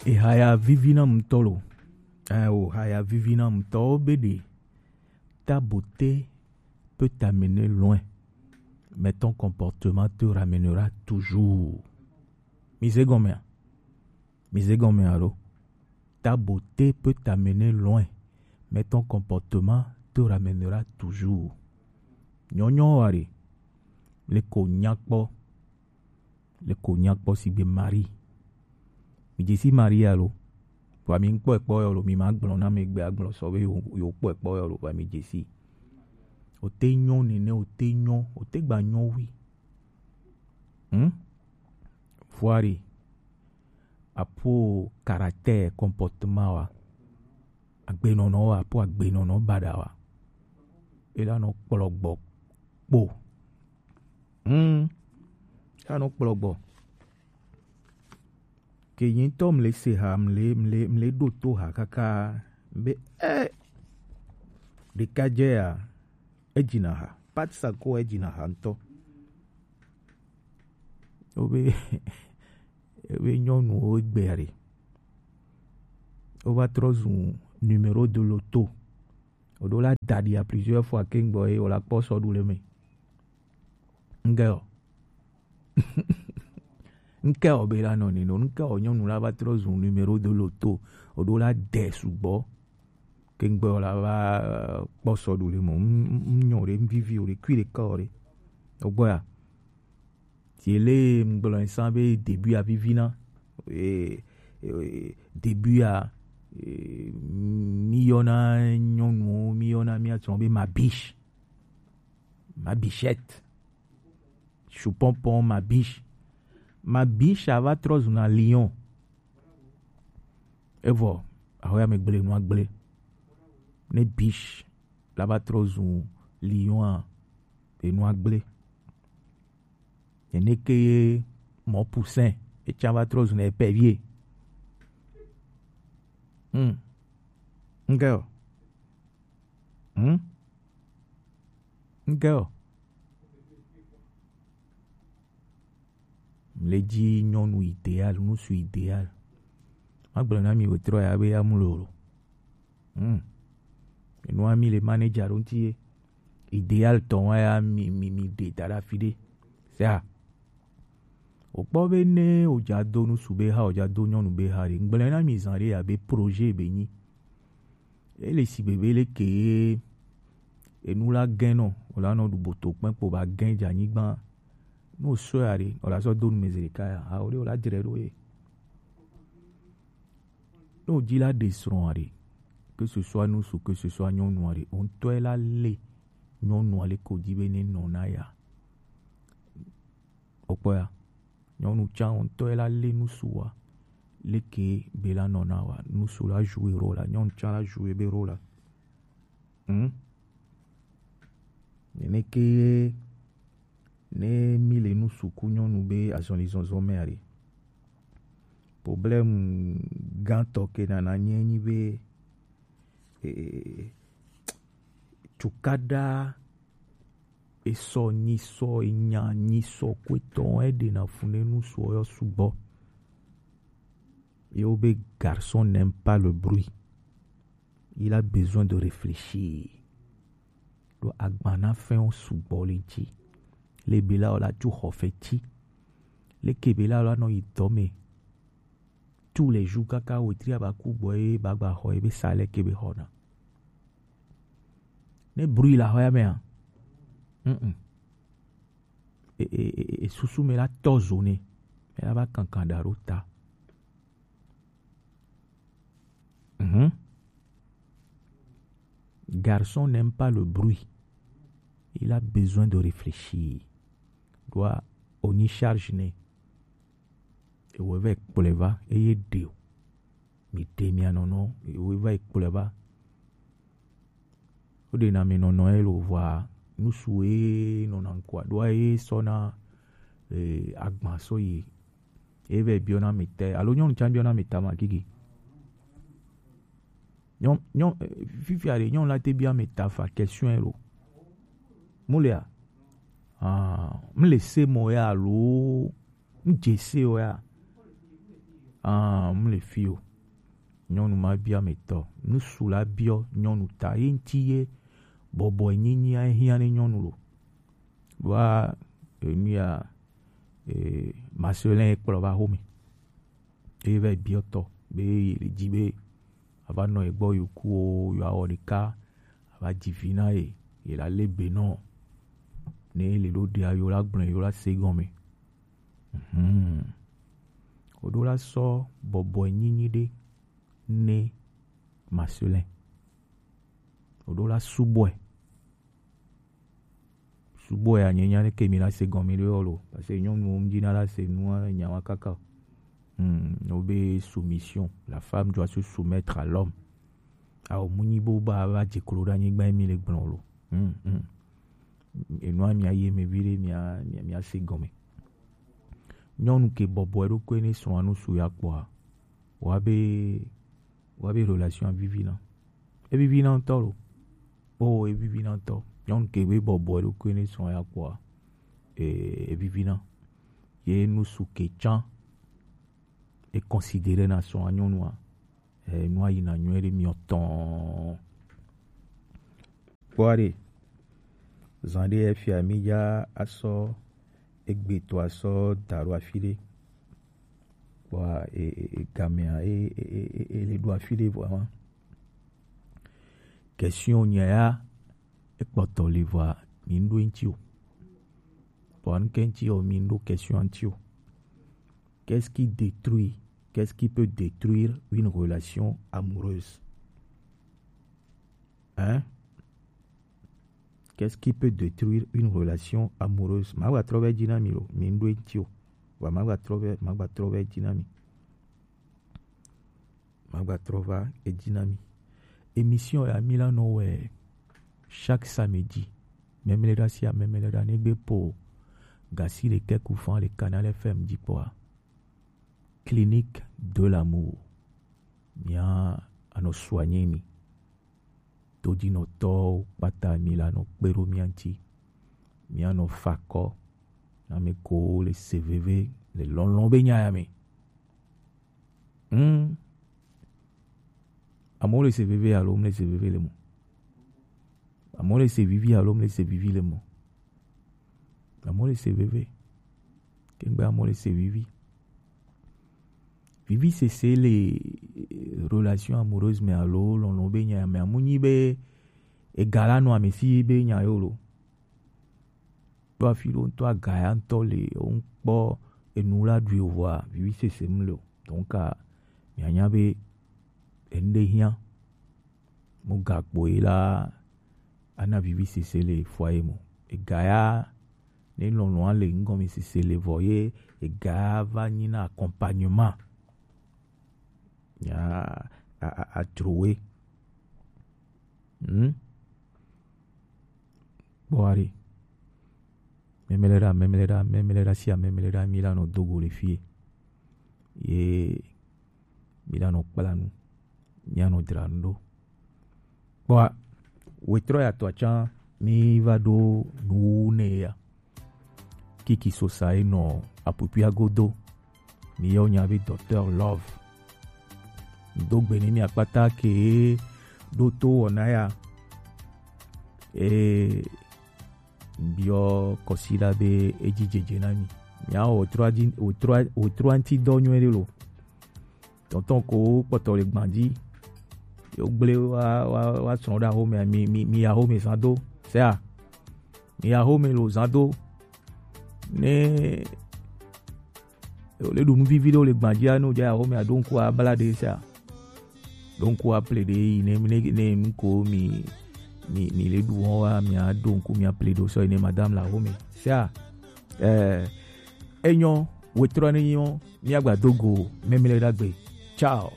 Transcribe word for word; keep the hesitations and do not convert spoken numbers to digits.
Ehaya vivi na ŋutɔ lo. Eh, o haya vivi na ŋutɔ wo be ɖe ta beauté peut t'amener loin, mais ton comportement te ramènera toujours. Mi ze gɔmea? Mi ze gɔmea lo? Ta beauté peut t'amener loin, mais ton comportement te ramènera toujours. Nyɔnyɔ wa ɖe le ko nyakpɔ, le ko nyakpɔ sigbe Marie. Mi dze si Marie alo? Vɔa mi ŋkpɔ ekpɔ yɔ lo, mi ma gblɔ na mi gbe agblɔ sɔ be yo yo kpɔ ekpɔ yɔ lo, vɔa mi dze si. O te nyɔ nene, o te nyɔ, o te gba nyɔ wi. Hmm? Vɔa ɖe apo caractère, comportement wa, agbenɔnɔ wa, apo agbenɔnɔ baɖa wa. E la nɔ kplɔ gbɔ kpo. Hmm. E la nɔ kplɔ gbɔ. Ke yi ŋutɔ mle se ha, mle, mle, mle ɖo to ha kaka be, eh, ɖeka dze ya, edzina ha. Pat Sako edzina ha ŋutɔ. Wobe, wobe nyɔnuwo gbea ɖe. Wova trɔ zu numéro de loto. Woɖo la da ɖi à plusieurs fois ke ŋgbɔ ye wòla kpɔ sɔ ɖu le me. Ŋkɛ o. Ŋkɛ o be la nɔ ni no. Ŋkɛ o nyɔnu la va trɔ zu numéro de loto. Woɖo la de sugbɔ. Ke ŋgbɔ la va, eh, kpɔ sɔ ɖu le mo. M-, m-, m-, nyɔ ɖe, m-, vivi o ɖe, kui ɖe ka o ɖe. O gbɔ ya. Ti ele ŋgblɔ san be début a vivi na. Eh, eh, début a, eh, mi yɔna nyɔnuwo, mi yɔna mia tsɔ be ma biche. Ma bichette. Chupɔnpɔn, ma biche. Ma biche a va trɔ zu na lion. Evɔ, ahɔ ya me gble nua gble. Ne biche la va trɔ zu lion a, enua gble. Nene ke ye mɔ poussin, etsa va trɔ zu na épervier. Hmm. Ŋkɛ o. Hmm? Ŋkɛ o. Mle dzi nyɔnu idéal, ŋutsu idéal. Magblɔ na mi wòtrɔ ya be ya mu lolo. Hmm. Enua mi le manager ɖo ŋuti ye. Idéal tɔ wa ya mi, mi, mi ɖe da ɖe afi ɖe. Sea. Wòkpɔ be ne wòdza do ŋutsu be ha, wòdza do nyɔnu be ha ɖe. Ŋgblẽ na mi zã ɖe abe projet be nyi. Ele si bebe le ke ye enu la gɛn nɔ, wòla nɔ ɖu boto kpɛn kpo ba gɛn dze anyigba. Ne wòsɔe ya ɖe, wòla sɔ do nu me zi ɖeka ya. Ha, wòle wòla dzre ɖo ye. Ne wòdzi la ɖe srɔ̃a ɖe, que ce soit ŋutsu, que ce soit nyɔnua ɖe, wò ŋutɔe la lé nyɔnua le ko dzi be ne nɔ na ya. Wòkpɔ ya. Nyɔnu tsã wò ŋutɔe la lé ŋutsu wa. Leke be la nɔ na wa? Ŋutsu la joue rôle la, nyɔnu tsã la joue be rôle la. Hmm? Nene ke ye ne mi le ŋutsu ku nyɔnu be azɔlizɔzɔ mea ɖe. Problème gãtɔ ke nana nye nyi be, eh, cukaɖa esɔ nyisɔ enya nyisɔ kwetɔ eɖena fu ne ŋutsu yɔ sugbɔ. Ye wo be garçon n'aime pas le bruit. Il a besoin de réfléchir. Ɖo agba na fɛnwo sugbɔ le ŋuti. Le be la wòla tso xɔ feti. Leke be la wòla nɔ yi dɔ me tous les jours kaka wetri aba ku gbɔ ye ba gba xɔ ye be sa leke be xɔna. Ne bruit la xɔ ya mea, mm, mm. E, e, e, e, susu me la tɔ zo ne. Me la va kankan da ɖo ta. Mhm. Garçon n'aime pas le bruit. Il a besoin de réfléchir. Doit on y charge ne. Ewɔ va kplɔe va eye ɖe o. Mi ɖe mia nɔnɔ, ewɔ va kplɔe va. Woɖena mi nɔnɔ ye lo vɔa, nusu ye nɔna ŋkɔa ɖoa ye sɔna, eh, agba sɔ yi. Ye vɛ biɔna mi tɛ, alo nyɔnu tsa biɔna mi ta ma gigi. Nyɔ, nyɔ, eh, fifia ɖe nyɔnu la te bia mi ta fa question ye lo. Mu lea? Ah, mu le se mɔ ya alo mu dze se o ya? Ah, mu le fi o. Nyɔnu ma bia me tɔ. Nusu la biɔ nyɔnu ta. Ye ŋti ye bɔbɔ nyinyi a hiã ne nyɔnu lo. Ɖoa enu ya, eh, Marcelin kplɔ va xome. Eye va biɔ tɔ be ye le dzi be ava nɔ ye gbɔ yo ku o, yo awɔ ɖeka, ava dzi vi na ye, ye la le be nɔ. Ne le ɖo ɖia yo la gblɔ yo la se gɔme. Mhm. Woɖo la sɔ bɔbɔe nyinyi ɖe ne Marcelin. Woɖo la subɔe. Subɔe a nye nya ne ke mi la se gɔme ɖe o lo. Parce que nyɔnuwo ŋdi na la se nua nyawa kaka. Hmm, no be soumission. La femme doit se soumettre à l'homme. Awo mu nyi bo ba va dze klo ɖe anyigba mi le gblɔ lo. Hmm, hmm. Enua mia ye me vi ɖe mia, mia, mia se gɔme. Nyɔnu ke bɔbɔ eɖokui ne srɔ̃a nu su ya kpɔa, wa be, wa be relation a vivi na. E vivi na ŋutɔ lo. O, e vivi na ŋutɔ. Nyɔnu ke be bɔbɔ eɖokui ne srɔ̃a ya kpɔa, e, e vivi na. Ye nu su ke tsã e considérer na srɔ̃a nyɔnua. Eh, nua yina nyuie ɖe miɔ tɔn. Kpɔa ɖe, zan ɖe efia mi dza asɔ egbe to asɔ da ɖo afi ɖe. Kpɔa e, e, e gamea e, e, e, e, e le ɖo afi ɖe vɔ ma. Question nya ya ekpɔtɔ le vɔa mi ŋɖo eŋti o. Vɔa ŋke ŋti o mi ŋɖo question ŋti o. Qu'est-ce qui détruit, qu'est-ce qui peut détruire une relation amoureuse ? Hein ? Qu'est-ce qui peut détruire une relation amoureuse ? Ma gba trɔ va dzi na mi lo, mi ŋɖo eŋti o. Wa ma gba trɔ va, ma gba trɔ va dzi na mi. Ma gba trɔ va edzi na mi. Émission ya mi la nɔ wɛ chaque samedi. Mɛmlɛɖa sia mɛmlɛɖa ne gbe po gasi ɖekɛ ku fan le Canal F M dzi kpɔa. Clinique de l'amour. Mia anɔ soigner mi. Todinɔtɔwo kpata mi la nɔ kpe ɖo mia ŋti. Mia nɔ fa kɔ na ame ko le se veve le lɔlɔ̃ be nya ya me. Hmm. Amewo le se veve alo womle se veve le mo? Amewo le se vivi alo womle se vivi le mo? Amewo le se veve. Kengbe amewo le se vivi. Vivi sese le, eh, relation amoureuse me alo lɔlɔ̃ be nya me amu nyi be ega la nɔ ame si be nya yo lo. Ɖo afi ɖo ŋutɔ aga ya ŋutɔ le, wo ŋkpɔ enu la ɖui o vɔa, vivi sese mu le o. Donc, a, mianya be enu ɖe hiã. Mu gakpo ye la, ana vivi sese le foyer mo. Ega ya, ne lɔlɔ̃a le ŋgɔme sese le vɔ ye, ega ya va nyi na accompagnement. Ya, a, a, a, a, a, Hmm? Kpɔa ɖe. Mɛmlɛɖa, mɛmlɛɖa, mɛmlɛɖa sia mɛmlɛɖa mi la nɔ do go le fie. Ye mi la nɔ kpla nu. Mi anɔ dra nu ɖo. Kpɔa, wetrɔ ya tɔ tsã mi va ɖo nu ne ya. Kiki Sosa ye nɔ apupia godo. Mi yɔ nya be Docteur Love. Do gbe ni mi akpata ke ɖo to wɔna ya. E biɔ kɔsi la be edzi dzedze na mi. Mia wɔ trɔ adi, wɔ trɔ, wɔ trɔ anti dɔ nyuie ɖe lo. Tɔntɔn ko kpɔtɔ le gban dzi. Yo gble wa, wa, wa srɔ̃ ɖe axome, mi, mi, mi ya axome zan do. Sea? Mi ya axome lo zan do. Ne le ɖu nu vivi ɖewo le gban dzia, ne wodze axome aɖo ŋku abla ɖe sea. Ɖo ŋku aple ɖe yi ne, ne, ne nu ko mi, mi, mi le ɖu wɔn wa, mi aɖo ŋku mi aple ɖo sɔ yi ne madame le axome. Sea? Eh, enyɔ, wetrɔ ne nyɔ, mi agba do go, mɛmlɛɖa gbe. Ciao.